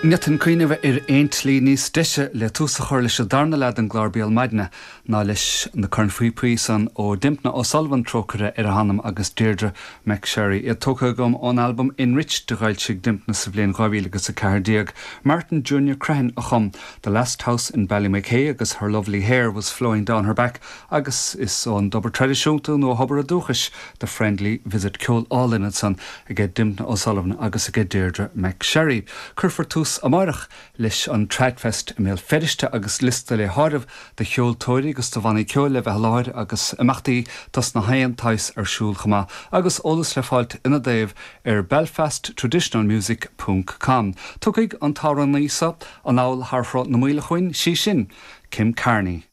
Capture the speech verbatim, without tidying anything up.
Ní fhéadfainn cuimhneamh ar aon tslí níos deise le tús a chur leis an darna leath den gclár Béal Maidine ná leis na cornphíopaí san ó Dympna O'Sullivan trócaire ar a hanam agus Deirdre McSherry. Iad tógtha agam ón albam Enriched a d'fhoilsigh Dympna sa bhliain dhá mhíle agus a ceathair déag. Martin Junior Crehan a chum The Last House in Ballymachay agus Her Lovely Hair Was Flowing Down Her Back agus is ón dtobar traidisiúnta nó thobar dúchais The Friendly Visit ceol álainn ansan aige Dympna O'Sullivan agus aige Deirdre McSherry. Cuirfear tús amárach leis an Tradfest i mBéal Feirste agus liosta le háireamh de cheoltóirí agus de bhannaí ceoil le bheith i láthair agus imeachtaí dos na haon tsaghas ar siúl chomh maith agus eolas le fáilt ina dtaobh ar Belfast Traditional Music ponc com. Tiocfaidh an t-amhránaí seo anall thar Shruth na Maoile chugainn sí sin, Kim Carney.